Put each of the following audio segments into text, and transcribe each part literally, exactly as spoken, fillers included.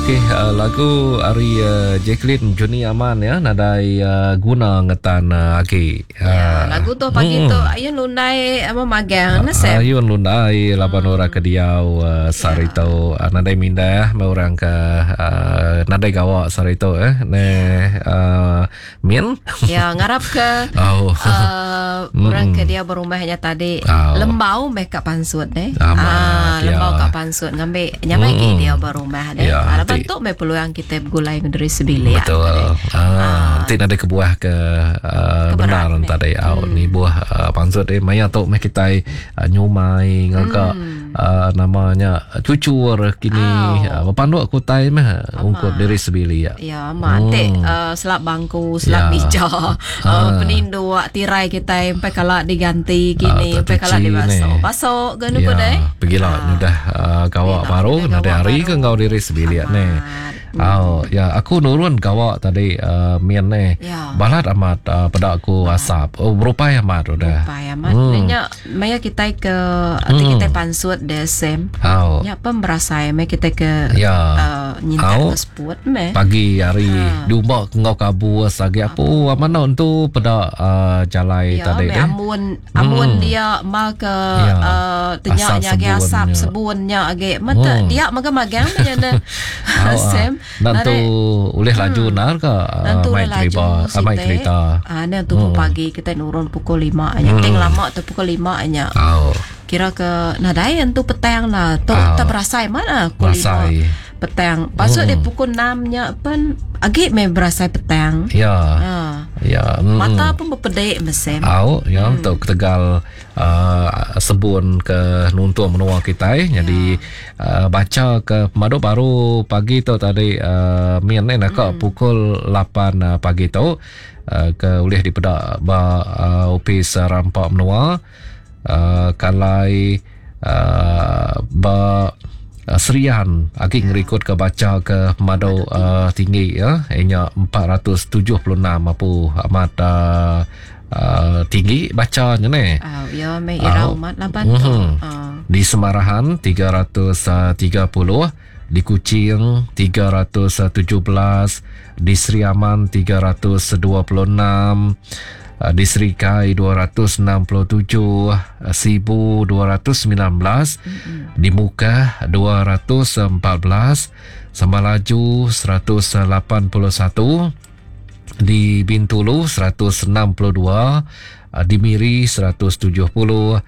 Okey, uh, lagu ari uh, Jacqueline Juni Aman ya, nadai uh, guna ngetan uh, agi. Uh, ya, lagu tu pagi hmm. tu ayun lundai apa magang na Sem. Ayun lundai laban hmm. orang ke diau uh, sarito ya. uh, nadai mindah me orang ke uh, nadai gawak sarito eh ne uh, min. Ya, ngarap ke oh. uh, orang ke dia berumahnya tadi oh. lembau meh kat pansut eh. Ah, lembau ya. Kat pansut ngambil nyamai hmm. dia berumah deh. Ya, laban tu meh peluang kita bergulai dari sebilik. Betul. Ah, ah. Nanti ada kebuah ke uh, benar tadi au hmm. ni buah uh, pansut eh maya tu meh kita uh, nyumai ngagak hmm. uh, namanya cucur kini oh. uh, panduk kutai meh ungkup diri sebilik. Ya, mak hmm. Nanti uh, selap bangku, selap ya. meja, uh, peninduk tirai kita sampai kala diganti kini, sampai kala dibasuh. Basuh ke nuku deh. Pergilah uh, udah uh, gawak baru, ada hari ke ngau diri sebilik ni. Oh, ya aku nurun gawak tadi uh, mian ni. Ya. Balat amat uh, pada aku asap. Oh, berupai amat udah. Berupai amat. Hmm. Nanya maya kita ke hmm. kita pansut de sem. Oh. Ya pemberasai maya kita ke ya. uh, nyintak ke sport meh. Pagi hari ha. Diumbak ngau kabus lagi apa mana tu pada uh, jalai ya, tadi deh. Amun amun hmm. dia ma ke ya. uh, tenyaknya age asap sebunnya age. Mata hmm. dia magang-magang nya na. Sem. Nanti oleh laju hmm. nar ke mai kereta mai kereta. Ah nanti hmm. pagi kita nurun pukul lima nya. Hmm. Ting lama tu pukul lima nya. Oh. Kira ke nadai tu petang lah. Tu oh. tak berasai mana pukul lima petang. Pasal hmm. dia pukul enam nya pun agi me berasai petang. Ya. Ha. Ya. Mm. Mata pun berpedek mesem. Au, ya hmm. untuk Tegal uh, sebun ke nuntung menua kita eh. Ya. Jadi uh, baca ke pemadu baru pagi tu tadi uh, mian ni nak hmm. pukul lapan uh, pagi tu uh, ke ulih dipedak ba uh, ofis rampak menua uh, kalai uh, ba Serian agi ngerikut ke baca ke pemadu uh, tinggi ya ianya empat ratus tujuh puluh enam apa amat uh, uh, tinggi bacanya ni. Oh, ya meh irau amat laban tu. Uh. Di Semarahan tiga ratus tiga puluh, di Kuching tiga ratus tujuh belas, di Sri Aman tiga ratus dua puluh enam, di Serikai dua ratus enam puluh tujuh, Sibu dua ratus sembilan belas, mm-hmm. di Mukah dua ratus empat belas, Sambalaju seratus lapan puluh satu, di Bintulu seratus enam puluh dua, di Miri seratus tujuh puluh,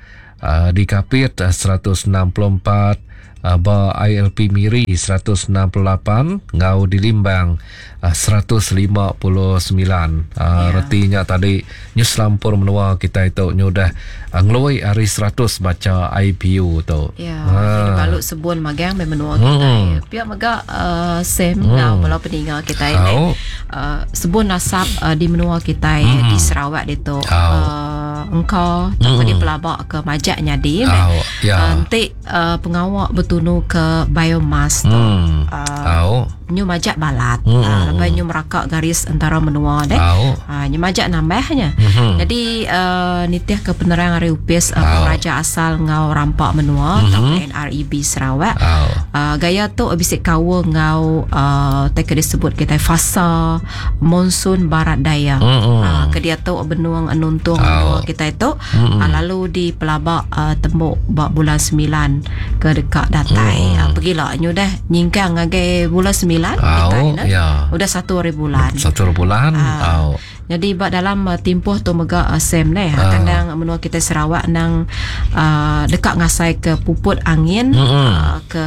di Kapit seratus enam puluh empat, ba I L P Miri seratus enam puluh lapan, ngau di Limbang seratus lima puluh sembilan. Ya. Retinya tadi news lampur menua kita itu nyudah ngelui hari seratus baca I P U tu. Ya, ha. Balut sebun magang me menua kita. Hmm. Pihak mega uh, sem hmm. ngau bala peninga kita ini. Oh. Uh, sebun asap uh, di menua kita hmm. di Sarawak itu. Oh. Uh, engkau tak hmm. dipelabak ke majak nyadi oh. meh. Ya. Uh, nanti uh, pengawak bertunu ke biomass tu. Hmm. Uh, oh. Nyu majak balat. Hmm. Uh, lepas nyu merakak garis antara menua deh. Oh. Uh, nyu majak nambahnya. Hmm. Jadi uh, nitih ke penerang hari upis uh, Oh. Pengeraja asal ngau rampak menua mm-hmm. atau N R E B Sarawak. Oh. Uh, gaya tu bisik kawa ngau uh, tak disebut kita fasa monsun barat daya. Mm-hmm. Uh, ke dia tu benuang anuntung Oh. menua kita itu mm-hmm. uh, lalu di pelabak uh, tembok bak bulan sembilan ke dekat datai. Mm. Uh, pergilah nyu dah nyingkang ngagai bulan sembilan Oh, kita nah. ya. Udah satu hari bulan. Satu hari bulan. Uh, Oh. Jadi bak dalam uh, timpuh tu mega uh, sem neh Ah. kandang menua kita Sarawak nang uh, dekat ngasai ke puput angin Mm-mm. uh, ke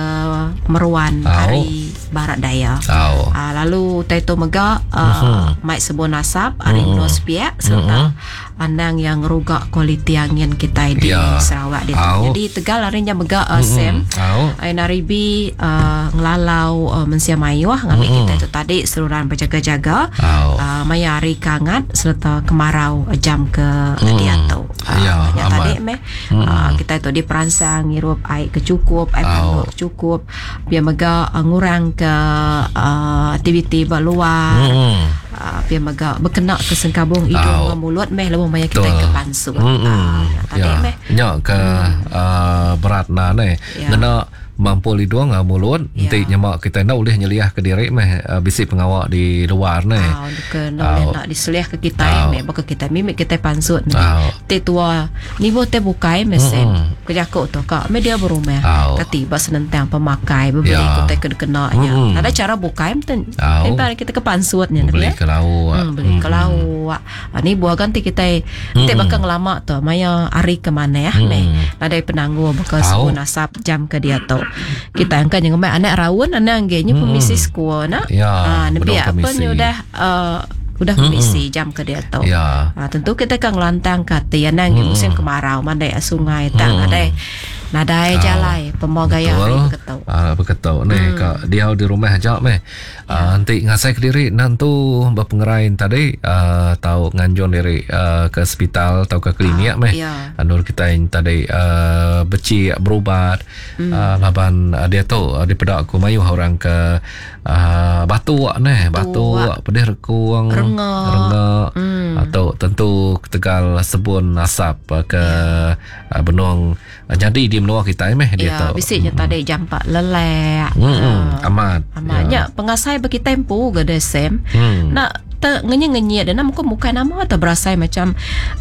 Meruan Oh. hari barat daya. Oh. Uh, lalu tai tu mega uh, mm-hmm. mai sebun asap hari Mm-mm. menua sepiak serta mm-hmm. anang yang rugak kualiti angin kita di Ya. Sarawak dia. Au. Jadi Tegal harinya mega uh, sem Oh. N R E B uh, ngelalau uh, mensia mayuh ngambil Mm-mm. kita itu tadi seluruhan berjaga-jaga Oh. uh, maya hari kangat serta kemarau jam ke Mm. dia tu. Uh, Ya, yang amat. tadi meh Mm. uh, kita itu diperangsang ngirup air kecukup, air Au. panduk cukup, biar mega uh, ngurang ke uh, aktiviti berluar. Mm. Uh, biar mega berkena ke sengkabung hidung Au. dengan mulut meh lebuh maya kita Betul. ke pansu. Mm-mm. Uh, tadi Ya. meh Nyak ke uh, berat nah ni. Ya. Ngena Mampul hidung uh, mulut. Ya. Enti nyemak kita nak boleh nyeliah ke diri meh uh, bisi pengawak di luar ni. Ah, ke nak boleh nak diseliah ke kita meh baka kita mimik kita pansut ni. Te tua ni bo te bukai meh sem. Kejakuk tu kak meh dia berumah. Tati ba senentang pemakai beli Ya. kita kena kena nya. Ada cara bukai mten. Lepas kita ke pansutnya Beli ke lauk. Hmm, beli ke lauk. Ah, ni buah ganti kita te bakal ngelama tu maya hari ke mana ya meh. Nadai penangguh bakal sebun asap jam ke dia tu. Kita angkat yang ngemai anak raun anak nggih nya permisi sekolah nak. Ya, Ah, nebi belum apa ni permisi. udah uh, udah permisi jam ke dia tu. Ya. Ah, tentu kita kan ngelantang ke hati anak nggih musim kemarau mandai sungai tak nadai nadai jalai pemau gaya hari beketuk. Ah, beketuk ni hmm. Kak dia di rumah aja meh. Ah, nanti ngasai ke diri nantu berpengerain tadi ah, tau nganjung diri ah, ke hospital atau ke klinik meh. ya. Anur kita yang tadi ah, becik berubat hmm. ah, laban ah, dia tu ah, dipedak aku mayuh orang ke ah, batuk neh, batuk, pedih rekung, Rengak. rengak. Hmm. Atau tentu ketegal sebun asap ah, ke ya. benung ah, jadi di menua kita meh dia Ya, tu. bisiknya tadi jampak lelek. Hmm, hmm, amat. Amatnya ya. Pengasai bagi tempo ke desem. Hmm. Nak te ngenyi-ngenyi dan nama bukan nama atau berasai macam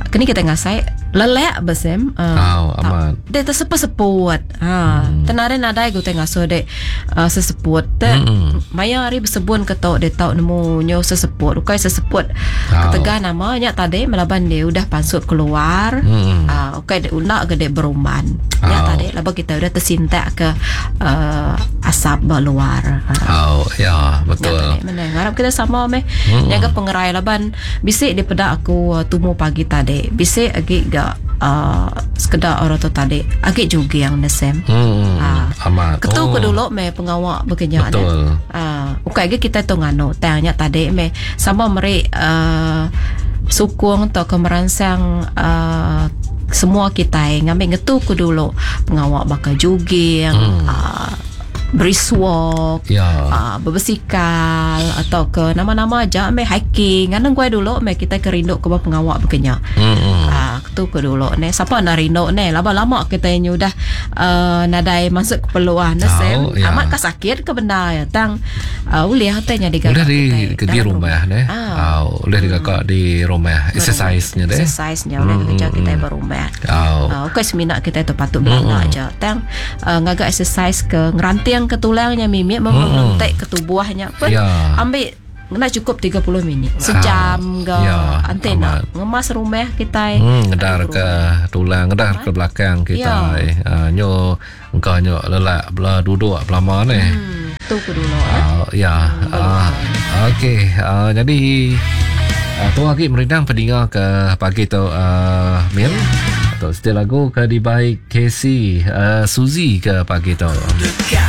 kini kita ngasai lelek besem. Uh, Oh, amat. Dia terseput-seput. Ha, hmm. Tenare nadai ku tengah so dek uh, seseput. Te Hmm. maya hari bersebun ke tok dia tau nemu nyo seseput. Ukai seseput. Oh. Ketegah namanya tadi melaban dia udah pansut keluar. Hmm. Ah, ukai dek unak ke dek beruman. Ya Oh. tadi laba kita udah tersintak ke uh, asap berluar. Ha. Oh, ya, betul. Ya, tadi mana ngarap kita sama meh. Hmm. Jaga pengerai laban bisik daripada aku uh, tumu pagi tadi. Bisik agi gak uh, sekedar orang tu tadi. Agi juga yang nesem. Hmm, Ah. amat. Ketu Oh, ke dulu meh pengawak bekenyak Betul. Ah, ukai ge kita tu nganu tanya tadi meh sama meri uh, sukung atau ke merangsang uh, semua kita ngambil ngetu ke dulu pengawak bakal jogging, hmm. uh, brisk walk, Ya. uh, berbasikal atau ke nama-nama aja meh hiking. Nganu gue dulu meh kita kerinduk ke pengawak bekenyak. Hmm. hmm. Ah, tu ke dulu ne. Siapa nak rindu ne? Lama-lama kita ni udah uh, nadai masuk ke peluang ne sem. Tahu, ya. Amat ka sakit ke benda ya. Tang uh, uliah tanya digagak Boleh di kita ke di dalam rumah ne. Ah. Oh, boleh digagak di rumah. Exercise-nya deh. Exercise-nya boleh kerja kita berumah. Oh. Uh, okey semina kita tu patut belanja aja. Tang uh, ngagak exercise ke ngeranting ke tulangnya mimik membentek ke tubuhnya pun Ya. ambil nak cukup tiga puluh minit. Sejam ke Ya, antena. amat. Ngemas rumah kita. Hmm, ngedar ke tulang, ngedar ke belakang kita. Ya. Eh. Uh, nyo engkau nyo lelak bela duduk lama ni. Hmm, tu ke dulu eh. Uh, ya. Uh, okey, uh, jadi uh, tu lagi merindang pendengar ke pagi tu uh, Mil. Atau setelah lagu ke dibaik Casey uh, Suzy ke pagi tu. Dekat